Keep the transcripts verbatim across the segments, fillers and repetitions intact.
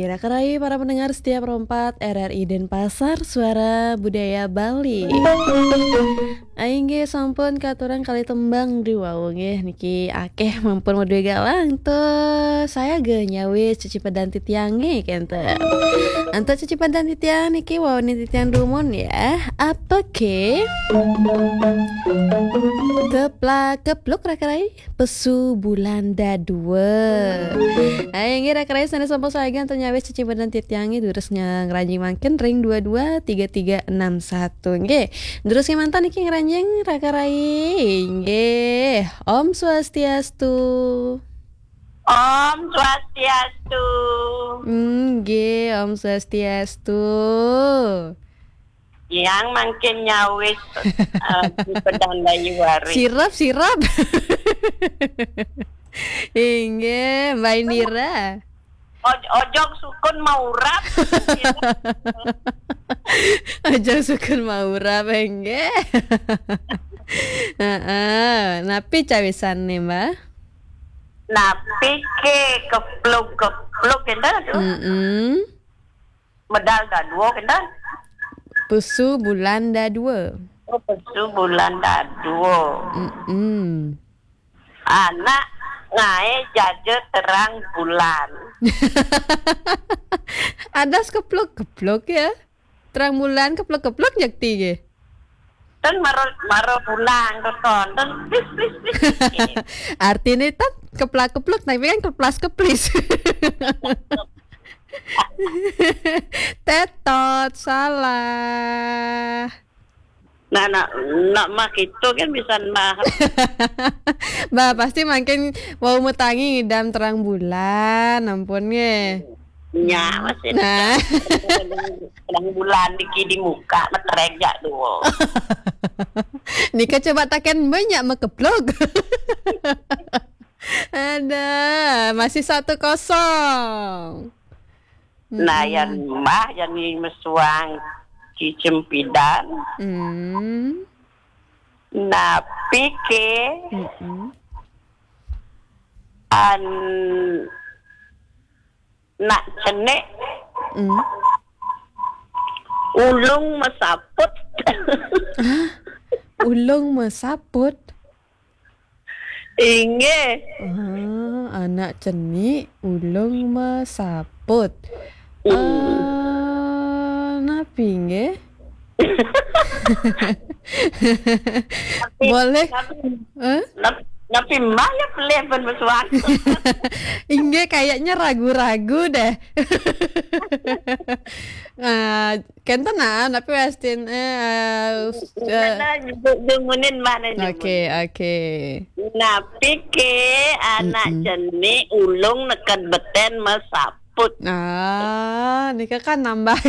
Raka rai para pendengar setia Pro empat R R I Denpasar, Suara Budaya Bali. Inggih sampun katurang kalih tembang duwau nggih niki akeh mampun madué galang tuh. Saya ge nyawis cecipedan titiange kenten. Antuk cecipedan titiang niki wawanin titiang dumun ya. Apa ke? Keplak kepluk raka rai. Pesu bulan dadua. Hai, inggih raka rai sané sampun saegan to nyawis cecipedan titiange durus ngranjing mangkin ring dua dua tiga tiga enam satu. Nggih. Durus kemanten iki ngranjing raka rai. Nggih. Om Swastiastu. Om Swastiastu. Nggih, Om Swastiastu. Yang mangkin nyawis eh, di pedang Dayu Wari. Sirap, sirap. Inggih, Mbak Indira. Oj- ojok sukun maurap. Aja sukun maurap, inggih. Heeh, napi cawisane, Mbak? Napi ke kepluk-kepluk kenten tuh. Mm-mm. Medal dadua kenten. Pusu bulan dadua. Oh, pesu bulan dadua. Mm-mm. Anak ngae jaja terang bulan. Ada kepluk-kepluk ya. Terang bulan kepluk-kepluk jakti ge. Ten maro maro pulang ke kon. Ten plis plis plis. Artinya kan keplak-kepluk, tapi kan keplas-keplis. Tetot, salah. Nah, nak nak mah gitu kan bisa mah. Bah, pasti makin mau metangi ngidam terang bulan, ampun nge. Nya masih Nah, terang bulan diki di muka meterejak dua. Nika coba taken banyak mekeplok. Ada, masih satu kosong. Nah, yang mbah yang mesuang cicempidan. Hmm. Napi ke Mm-mm. an nak cenik Mm. ulung mesaput. Ulung mesaput. Inggih. Ah, anak cenik ulung mesaput. Hmm. Ah, napi nggih? Boleh. Napi, Eh? napi, napi mbah ya pelih ben mesuang. Inggih, kayaknya ragu-ragu deh. Ah, kenten nah, tapi westin eh, eh, Karena jumunin mana jumunin. Oke, oke. Napi ke anak Mm-mm. Cenik ulung neked beten mesaput. Ah, nika kan nambah.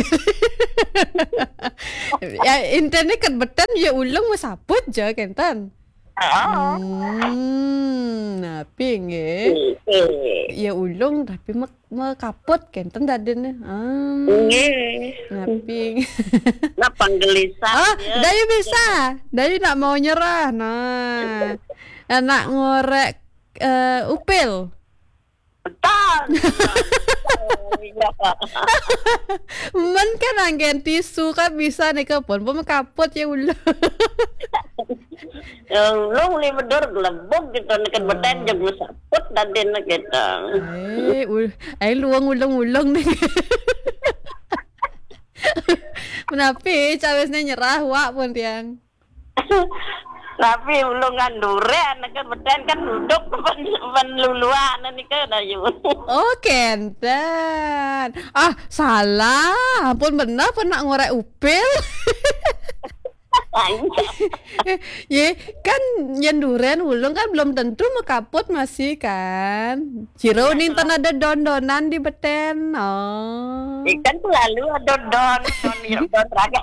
Ya, intinya kan beten ya ulung mesaput ja kenten. Oh. Hmm, napi nggih. Eh, Ya ulung tapi me- mekaput kenten dadine. Hmm. Nggih. Napi. Nah, panggelisah. Ah, Ya. Dayu bisa. Dayu nak mau nyerah. Nah. Anak ngorek eh, upil. Betul. Oh, iya. Men kan anggen tisu kan bisa nih ke pun pun kaput ya ulung. Ulung li bedur gelebug gitu neked beten jeg mesaput dadine gitu. Eh, ul, ai luang ulung-ulung nih. Menapi cawisnya nyerah wak pun tiang. Tapi ulung kan duren neked beten kan duduk pen, pen luluan nika Dayu. Oh, kenten. Ah, salah. Ampun bener pernah ngorek upil. Ye, kan yen duren ulung kan belum tentu mekaput masih kan. Jero ning ten ada don-donan di beten. Oh. Ikan selalu ada don, don, don raga.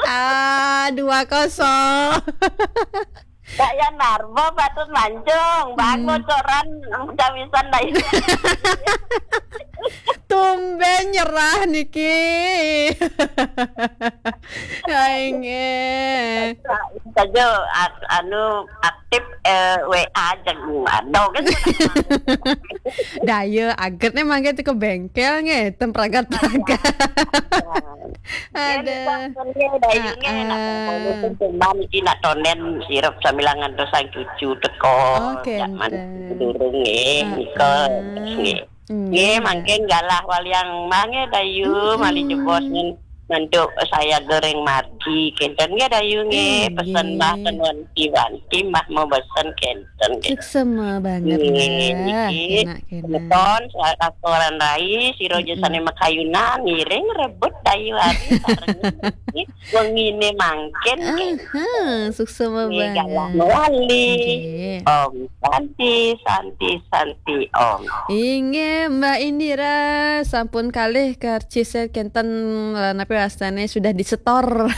Ah, dua kosong. Kaya narba patut mancung, bang Hmm. bocoran cawisan Dayu. Tumben nyerah niki. Aing eh. Saja a- anu aktif eh, W A jago ado kan. Daya aget nih mangke teko bengkel nggih, tem pragat-pragat. Ada. Nggih, Dayu nggih, nak mongkon pun cuma niki nak tonden sirep sambilan ngantos sang cucu teko. Oh, nek mantu durung nggih, nika nggih. Nggih, mangke galah waliang mah nggih, Dayu, mali jebos ngen mantu saya goreng mati. Kenten nggih, Dayu nggih, pesen mah ten wanti-wanti mah mau pesen kenten nggih. Suksema banget. Nggih, niki semeton, sa-, sakoran rai, sira ja sane makayunan, ngiring rebut Dayu hari sareng niki. Wengine mangkin nggih. Aha, suksema banget. Nggih, galah mewali. Nggih. Om Santi, Santi, Santi, Om. Inggih, Mbak Indira, sampun kalih karcis kenten, eh, napi wastane sudah disetor.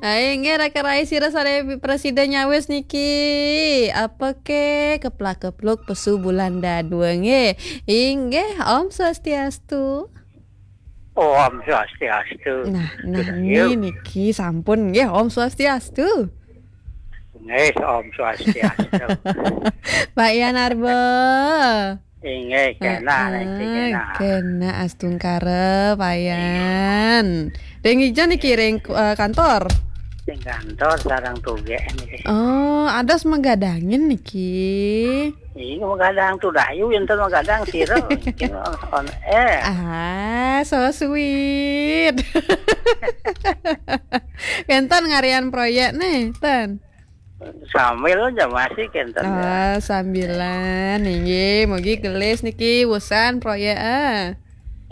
Ayo, inggih, raka rai sira sare presida nyawis niki. Apa ke keplak-kepluk pesu bulan dadua nggih. Inggih, Om Swastiastu. Om Swastiastu. Nah, nah, niki sampun nggih, Om Swastiastu. Nggih, Om Swastiastu. Pak Yan Arba. Inggih, kena niki, kena. Kena astungkara, Pak Yan. Ring ija niki ring, eh, kantor? Ring kantor sareng tugek niki. Oh, adas magadangin niki. Iya, magadang tu Dayu, enten magadang sira. Niki on, on air. Ah, so sweet. Kenten ngarian proyek nih, ten. Sambil aja masih kenten, ya. Ah, sambilan, inggih. Mugi gelis niki usan proyek, ah.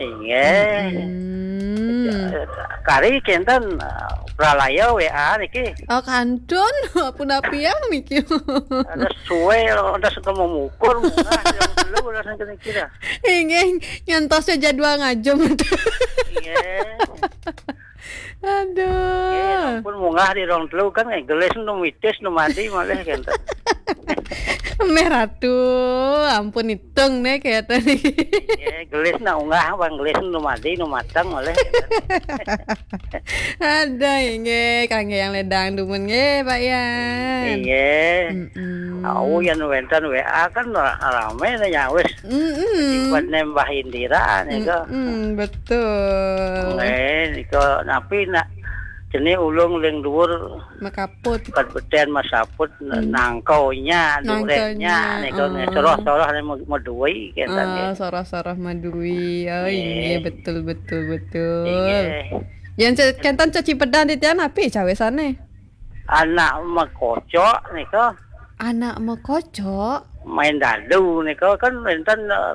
Inggih. Mm-mm. Kari kenten, eh, pralaya W A niki. Oh, kantun, punapian niki. Ada suwe, ada suka memukur, munggah, yang dulu, ada sing kira. Inggih, nyantosnya jadwal ngajem. Inggih. Aduh. Nggih, ampun munggah di rong telu kan, eh, gelis nu mitis, nu mati malih kenten. Meh Ratu, ampun itung nih kaya tadi. Nggih, gelis nak unggah, bang gelis nu mati, nu matang malih kenten. Ada nggih, kangge yang ledang dumun nggih, Pak Yan. Nggih. Mm-mm. Au, yang wenten W A kan ra-, rame nih nyawis. Mm-mm. Sifat nembah Indira nika. Mm-mm, betul. Nggih, nika napi nak jenis ulung ling dhuwur makaput. Pet beten masaput, nangkaunya, durennya, nika nggih, soroh-soroh ne me-, medui, kenten nggih. Oh, soroh-soroh medui. Oh, nggih, betul, betul, betul. Nggih. Yang ce-, kenten cecipedan titian api cawisane? Anak mekocok nika. Anak mekocok? Main dadu nika kan wenten, eh,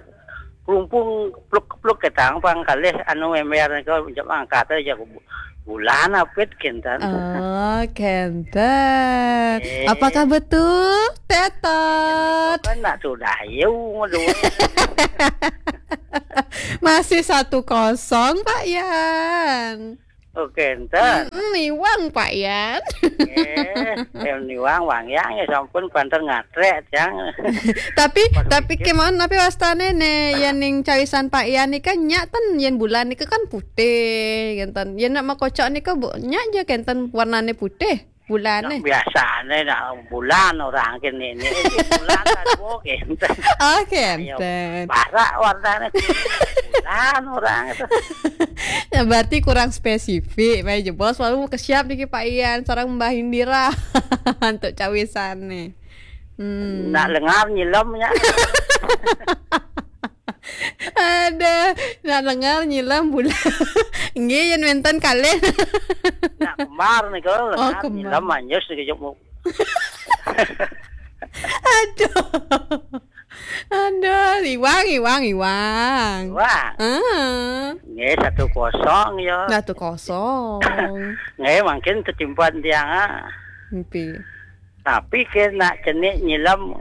kelumpung kepluk-kepluk ketang pang kalih anu ember nika jam angkat aja bu-, bulan apit kenten. Oh, kenten. Eh. Apakah betul? Tetot. Kan nak sudah yu. Masih satu kosong, Pak Yan. Oh, kenten. Mm-mm, niwang, Pak Yan. Eh, em, niwang, Wang Yang, ya sampun, banter ngatrek, Jang. Tapi, tapi kemawon, tapi wastane ne, yen ning cawisan Pak Yan nika nyak ten, yen bulan nika kan putih, kenten. Yen nak makocok nika, Bu, nyak je kenten warnane putih, bulane. Nak biasane nak bulan orang kene ini, ini bulan kan, Bu, kenten. Oh, kenten. Barak warnane kuning, bulan orang itu. Ya, berarti kurang spesifik. Baik, jebos, baru kesiap niki Pak Yan, sareng Mbah Indira. Untuk cawisane. Hmm. Nak lengar nyilem nya. Ada, nak lengar nyilem bulan. Nggih, yen wenten kalih. Nak kembar nika, oh, lengar kembar. Nyilem anjus niki jok mu-, aduh. Aduh, iwang, iwang, iwang. Iwang. Ah. Nggih, satu kosong ya. Satu kosong. Nggih, mungkin kecimpan tiang, ah. Mpi. Tapi kena cenik nyilem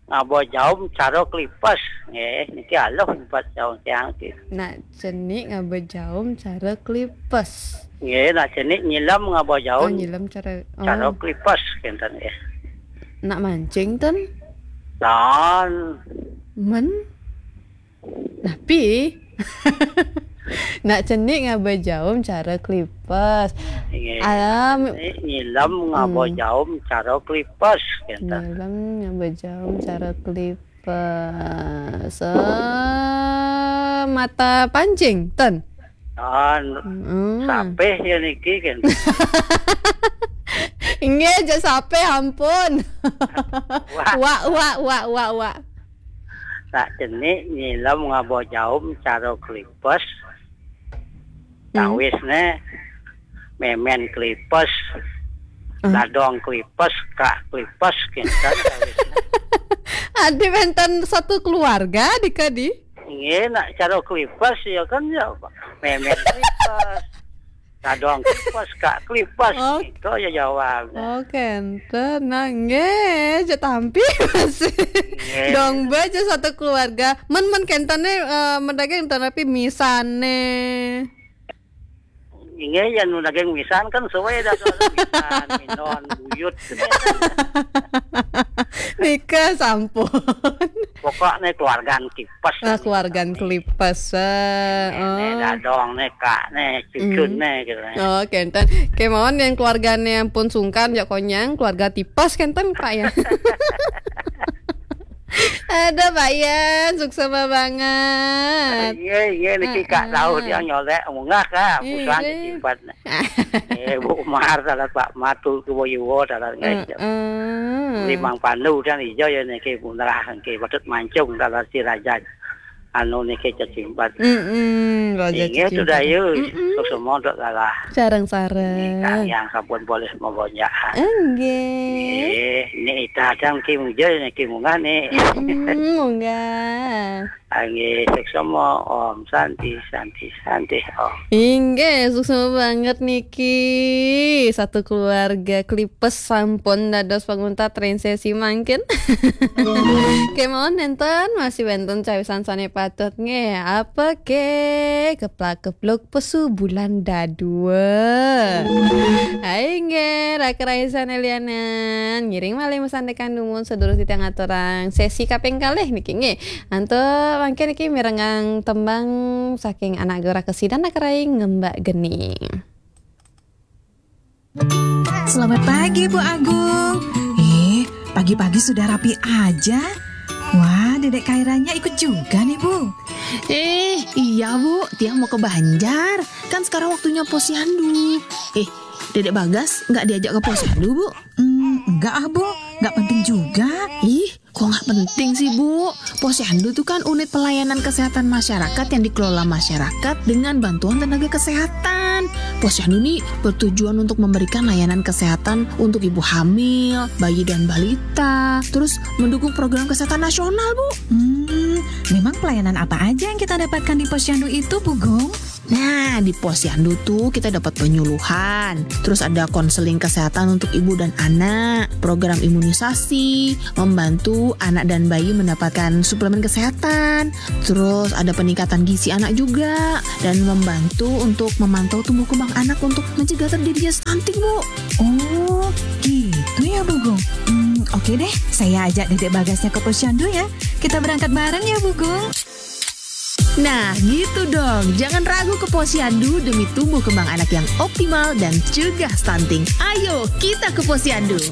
ngaba jaum cara klipes. Nggih, niki aluh nyimpat jaum tiang niki. Nak cenik ngaba jaum cara klipes. Nggih, nak cenik nyilem ngaba jaum. Oh, nyilem cara, cara, oh, klipes kenten nggih. Nak mancing ten? Tan. Men? Napi? Nak cenik ngaba jaum cara klipes. Nggih. Alam. Nak cenik nyilem ngaba, hmm, jaum cara klipes kenten. Nyilem ngaba jaum cara klipes. Semata pancing, ten. Ah, sapeh ya niki kan. Nggih, aja sapeh, ampun. Wak, wak, wak, wak, wak. Nak cenik nyilem ngaba jaum cara klipes. Tawisne memen klipes, dadong klipes, kak klipes, kinten tawisne. Adi wenten satu keluarga, dika di? Nggih, nak cara klipes ya kan ya, memen klipes, dadong klipes, kak klipes, gitu ya jawab. Oh, kenten. Nah, nggih, aja tampi masih. Nggih. Dong be aja satu keluarga. Men, men kentene, eh, men daging enten tapi misane. Inggih, yen daging wisan kan suwe dah soal wisan, minon, buyut. Nika sampun. Pokokne keluargan tipes. Ah, keluargan kelipes. Ah, ini dadong ne, kak ne, cucun ne gitu. Oh, kenten. Kemawon yang keluargane ampun sungkan, ya konyang, keluarga tipes kenten, Pak, ya. Ada Pak Yan, suksma banget. Iya, iya, niki Kak Daud yang nyolek munggah, Kak. Iya. Bukan simpan. Eh, Bu Umar, dalam Pak Matu, ke Boyuwo, dalam ngai. Heeh. Limang Pandu dan ijo ya niki munrah niki, Batut Mancung dalam si Raja. Anu niki cecimpat. Mm-mm, Raja Inggih, cecimpat. Sudah yuk. Mm-mm. Terus semua untuk kalah. Sareng-sareng. Ini Kak yang sampun boleh membonjak. Enggih. Nggih, ini ita adang ki muja, ini ki munggah nih. Mm-mm, munggah. Nggih, suksma, Om Santi, Santi, Santi, Om. Inggih, suksma banget niki. Satu keluarga klipes sampun dados panguntat ring sesi mangkin. Kemawon nenten, masih wenten cawisan sane patut nggih. Apa ke? Keplak kepluk pesu bulan dadua. Hai nggih, raka rayi sane lianan. Ngiring malih masandekan dumun sedurung titiang ngaturang sesi kaping kalih niki nggih. Antuk mangkin niki mirengang tembang saking anak gora kesidan raka rayi Ngembak Geni. Selamat pagi, Bu Agung. Eh, pagi-pagi sudah rapi aja. Wah, Dedek Kairanya ikut juga nih, Bu. Eh, iya, Bu. Tiang mau ke Banjar. Kan sekarang waktunya posyandu. Eh, Dedek Bagas nggak diajak ke posyandu, Bu? Hmm, enggak ah, Bu. Nggak penting juga. Ih, kok nggak penting sih, Bu? Posyandu itu kan unit pelayanan kesehatan masyarakat yang dikelola masyarakat dengan bantuan tenaga kesehatan. Posyandu ini bertujuan untuk memberikan layanan kesehatan untuk ibu hamil, bayi dan balita, terus mendukung program kesehatan nasional, Bu. Hmm, memang pelayanan apa aja yang kita dapatkan di posyandu itu, Bu Gung? Nah, di posyandu tuh kita dapat penyuluhan, terus ada konseling kesehatan untuk ibu dan anak, program imunisasi, membantu anak dan bayi mendapatkan suplemen kesehatan, terus ada peningkatan gizi anak juga, dan membantu untuk memantau tumbuh kembang anak untuk mencegah terjadinya stunting, Bu. Oh, gitu ya, Bu Gung. Hmm, oke deh, saya ajak Dedek Bagasnya ke posyandu ya. Kita berangkat bareng ya, Bu Gung. Nah, gitu dong. Jangan ragu ke posyandu demi tumbuh kembang anak yang optimal dan cegah stunting. Ayo, kita ke posyandu.